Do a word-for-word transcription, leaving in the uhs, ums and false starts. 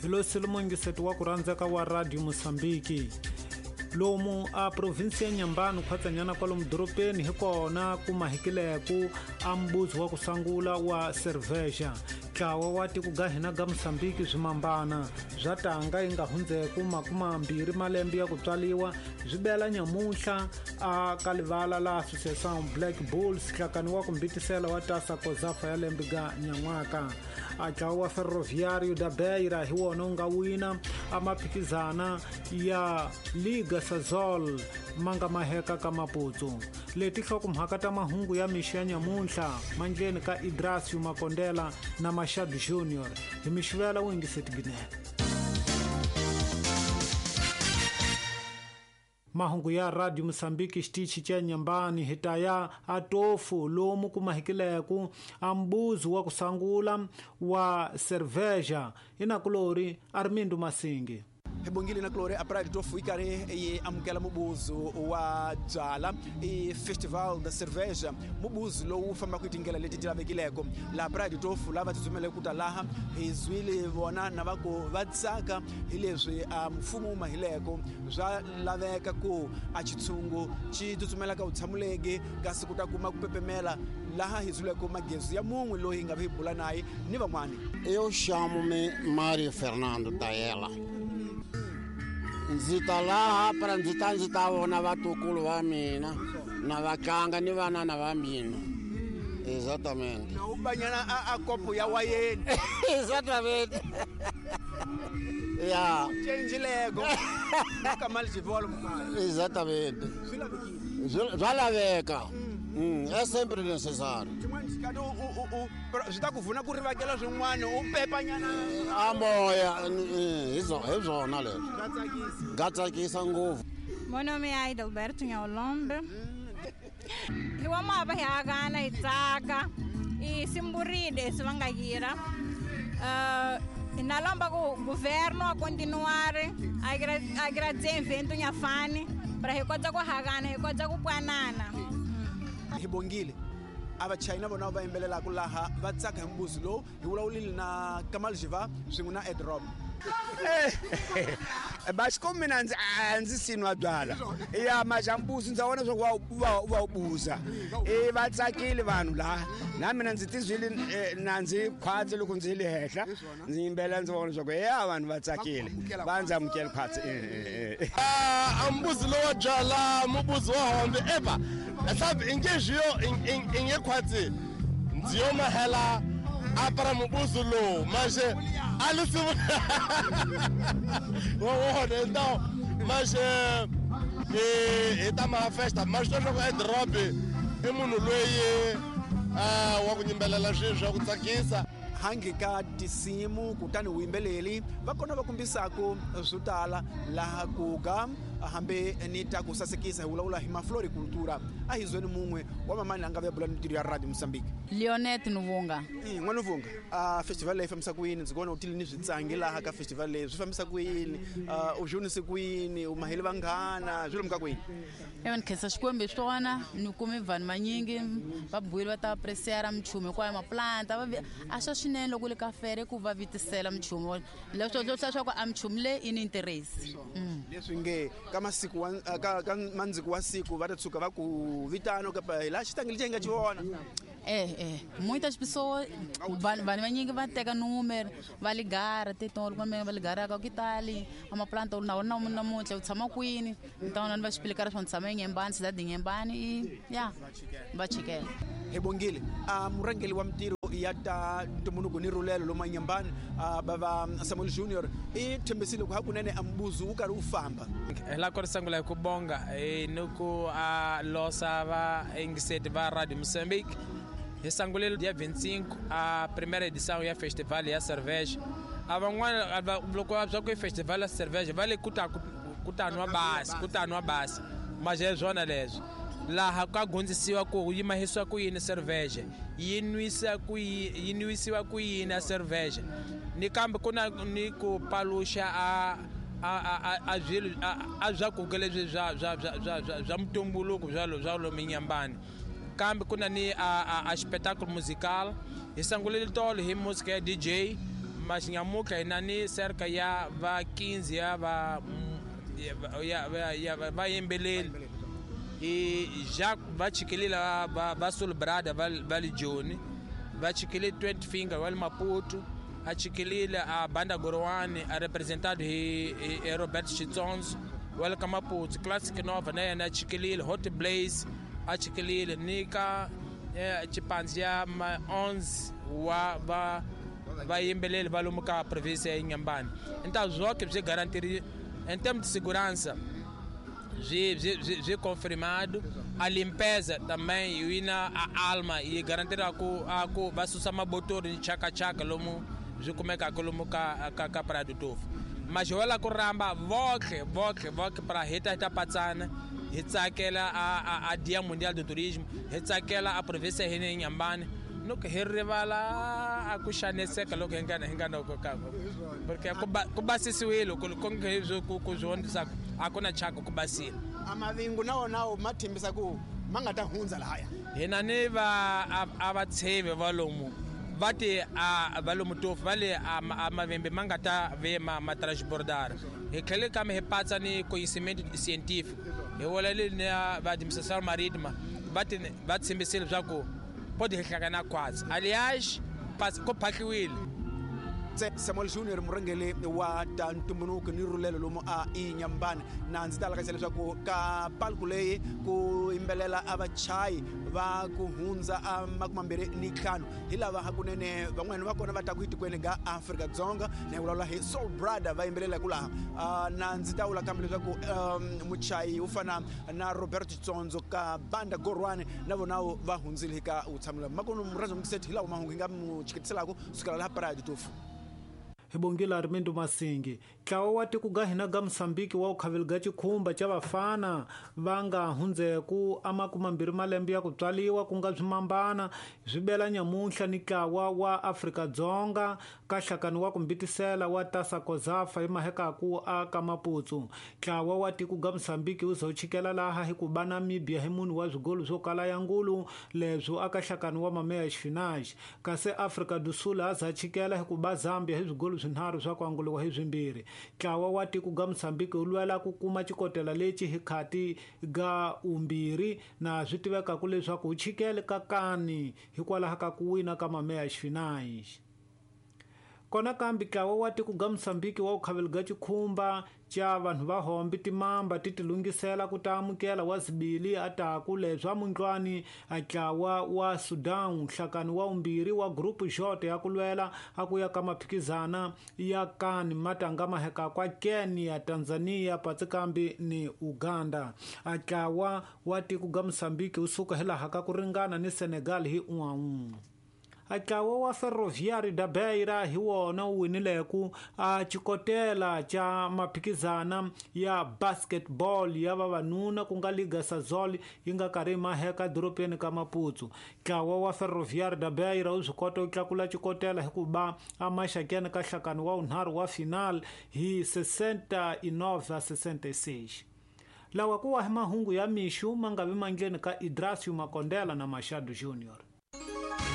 Hi lo Silumongise wa ku rhandzeka wa Radio Mozambique. Lomu a provinsi ya Nyambani khwatsanyana kwalomu dorobeni hi kona ku mahikileku a mbuzi wa ku sangula wa cerveja. Ntlawa wa tiko ga hina ga Mozambique swimambana bya tanga yi nga hundzeku makumambirhi malembe ya ku tswaliwa byi bela nyamuntlha a ka livala la Association Black Bulls hlakani wa ku mbitisela wa tasa Kozafa ya lembe ga nyan'waka. A ntlawa wa Ferroviário da Beira hi wona wu nga wina a maphikizana ya Liga Sazol ma nga maheka ka Maputo. Leti nhlokomhaka ta mahungu ya mixo ya nyamuntlha mandleni ka Idrasio Makondela na Machado Junior hi mixivela wu yingiseti ginene. Mahungu ya Radio Mozambique xitichi cha Nyambani hi ta ya atofu lomu ku mahikileku a mbuzi wa ku sangula wa cerveja inakulori Armindo Masingi. Hi bongile na kulori a Praia de Tofo yi karhi yi amukela mubuzu wa byala i Festival da Cerveja, mubuzu lowu fambaka hi tindlela leti ti lavekileko laha Praia de Tofo lava tsutsumeleke ku ta laha hi zwile vona na va ku va tsaka hi leswi a mfumo wu mahileko swa laveka ku a xitshungu xi tsutsumela ka vutshamuleki kasi ku ta kuma ku pepemela laha hi zwileko magezi ya mun'we loyi hi nga vi bula naye ni van'wani. Eu chamo-me Mário Fernando Taela. Ndzi ta laha para ndzi ta ndzi ta vona vatukulu va mina na vatlanga ni vanana va mina. Exatamente. Na u banyana a, a kopo ya wayeni. Exatamente. Ya. Change lego. Ka mali xivolo mali. Exatamente. Swi lavekile. Swa laveka. Mm, é sempre necessário. Xin'wana xikati u u u swi ta ku pfuna ku rivakela swin'wana u pepanyana a moya hi hi swona leswi. Swa tsakisa. Ga tsakisa ngopfu. Meu nome é Aida Alberto Nhaolombe. Hi wa mava hi akana hi tsaka i simburide swi va nga yira. Uh, na lomba ku governo a continuar a agradecer evento nyafani para hi kota ku hakana hi kota ku pwanana. Hi bongile a vachayina vona va yimbelelaka laha va tsaka hi mbuzi lowu hi vulavulile na Kamal Jiva swin'we na Ed Rob. Basiko mina ndzi a ndzi sinwa byala ya majambuzi ndza vona swa ku va va buza e va tsakile vanhu laha na mina ndzi tizwile na ndzi khwatsi loko ndzi le henhla ndzi yimbela ndzi vona swa ku ya vanhu va tsakile va ndzi amukela khwatsi. A mbuzi lowa byala mubuzi wa hombe eva sabe ingejiyo inge khwatsi ndzi yo mahela a para mubuzi lowu manje alisi wona então mas hi ta ma festa mas leswaku Ed Rob i munhu loyi wa ku yimbelela swilo swa ku tsakisa hangi ka tinsimu kutani vuyimbeleli va kona va kombisaku swo tala laha ku ga hambi ni ta ku sasekisa hi vulavula hi mafloricultura a hi zweni mun'we wa mamani a nga vuya bula ni ntirho ya Radio Mozambique. Leonet Nuvunga. N'wana Nuvunga, a festival leyi fambisa ku yini? Ndzi vona u tile ni switsangi laha ka festival leyi swi fambisa ku yini? U dyondzise ku yini? U mahele vanghana swi lomuka ku yini? Ewa ni khensa Xikwembu hi swona ni kume vanhu vanyingi va buile va ta apreciara minchumu hinkwayo maplanta va a swa swinene loko le ka fere ku va vitisela minchumu leswo leswaku a minchumu leyi i ni interest. Leswi nge ka masiku wa ka ka mandziku wa siku va ta tshuka va ku vitana kapa hi laha xitangili lexi hi nga xi vona. Eh eh muitas pessoas vanhu vanhu vanyingi va teka número va ligara titolo kumbe va ligaraka ku tali a maplanta na wona namuntlha u tshama kwini então va explicar swa tshama eNyembani cidade Nyembani i ya va chikela. Hi bongile a murhangeri wa mintirho ya ta ntumbuluko ni rhulelo lomu Nyembani bava Samuel Junior i tshembisile ku hakunene a mbuzi wu karhi wu famba. Hi la ku ri sungula hi ku bonga ni ku a losa va yingiseti va Radio Mozambique. Hi sangulile dia vinte e cinco a primeira edição ya festival ya cerveja. A van'wana loko va swa ku festival ya cerveja va le ku ta ku ta nwa basi ku ta nwa basi mas é swona leswi laha ka gondzisiwa ku yi mahisiwa ku yini cerveja yi nwisa ku yi nwisiwa ku yini a cerveja ni kambe ku na ni ku paluxa a a a a swilo a swakudya leswi swa swa swa swa swa mutumbuluko swa swa lomu Nyambani kambe ku na ni a a, a espetáculo musical hi sangulile tolo hi música ya D J Mas nyamuka inani cerca ya va quinze ya va ya ya va yimbelela e já va chikelila va va Sulbrada va va Joni va chikelile twenty Finger va Maputo a chikelile a Banda Gorwani a representado hi hi Robert Chitsonzo wa ka Maputo Classic Nova na yena chikelile Hot Blaze a chikelile nika chipanzi ya onze wa va va yimbeleli va lomu ka província ya Inhambane. Então zonke byi garantiri em termos de segurança byi byi byi confirmado a limpeza também e na a alma e garantir a ku a ku va susa mabotori ni chaka chaka lomu byi kumeka lomu ka ka ka Praia do Tofo. Mas wala ku ramba voke voke voke para hita hita patsana hi tsakela a a a Dia Mundial do Turismo hi tsakela a província ya Inhambane no que hi rivala a ku xaniseka loko hi nga hi nga noko ka porque ku basisiwile ku konke ku ku zwondisa a ku na chaka ku basile a mavingu na wona ma thembisa ku ma nga ta hundza lahaya hina ni va a va tsheve va lomu va ti a va lomu Tofo va le a mavembe ma nga ta ve ma ma transbordar hi tlhele kambe hi patsa ni conhecimento científico hi wala le na va administração marítima va ti va tshembisile swa ku pode hlangana quase. Aliás, ko phahliwile. Samuel Junior murhangeri wa ta ntumbuluko ni rhulelo lomu a Inhambane na ndzi ta lakasa leswaku ka palku leyi ku yimbelela a vachayi va ku hundza a makumambirhi ni ntlhanu hi lava hakunene van'wana va kona va ta ku etikweni ga Afrika-Dzonga na hi vulavula hi Soul Brother va yimbelelaka laha na ndzi ta vula kambe leswaku muchayi wo fana na Robert Tsonzo ka Banda Gorwani na vona va hundzile ka vutshamelo makunu murhandzi mukiseti hi lawa mahungu hi nga mu chiketiselaka sukela laha Praia do Tofo. Hi bongile Armindo Masingi ntlawa wa tiko ga hina ga Mosambiki wa ukhaveli ga chikhumba cha vafana va nga hundzeku a makumambirhi malembe ya ku tswaliwa ku nga swimambana swi bela nyamuntlha ni ntlawa wa Afrika-Dzonga ka nhlakano wa ku mbitisela wa Tasa Kozafa emahekaku a ka Maputo. Ntlawa wa tiko ga Mosambiki wu za wu chikela laha hi ku ba Namibia hi munhu wa swigolo swo kala ya ngulu leswo aka nhlakano wa mameya xifinaxi kasi Afrika do Sul a za chikela hi ku ba Zambia hi swigolo swinharhu swa ku anguliwa hi swimbirhi. Ntlawa wa tiko ga Mosambiki wu lwela ku kuma xikotela lexi hi khati ga umbirhi na swi tivekaku leswaku wu chikele ka kani hikwalaho ka ku wina ka mameya xifinaxi. Kona kambe ntlawa wa tiko ga Mosambiki wa ukhaveli ga chikhumba cha vanhu va hombi timamba ti tilungisela ku ta amukela wa zibili ataku leswa mundlwani a ntlawa wa Sudan nhlakano wa umbirhi wa group J ya ku lwela a ku ya ka maphikizana ya kani matanga maheka kwa Kenya, Tanzania patsikambi ni Uganda. A ntlawa wa tiko ga Mosambiki wu suka hilaha ka ku ringana ni Senegal hi un'we. Ntlawa wa Ferroviário da Beira hi wona wu winileku a xikotela xa maphikizana ya basketball ya vavanuna ku nga Liga Sazol yi nga karhi maheka dorobeni ka Maputo. Ntlawa wa Ferroviário da Beira wu swi kota ku tlakula xikotela hi ku ba amaxakeni ka nhlakano wa vunharhu wa final hi sessenta e nove a sessenta e seis. Lawa ku wa hi mahungu ya mixu ma nga vi mandleni ka Idrasio Makondela na Machado Junior.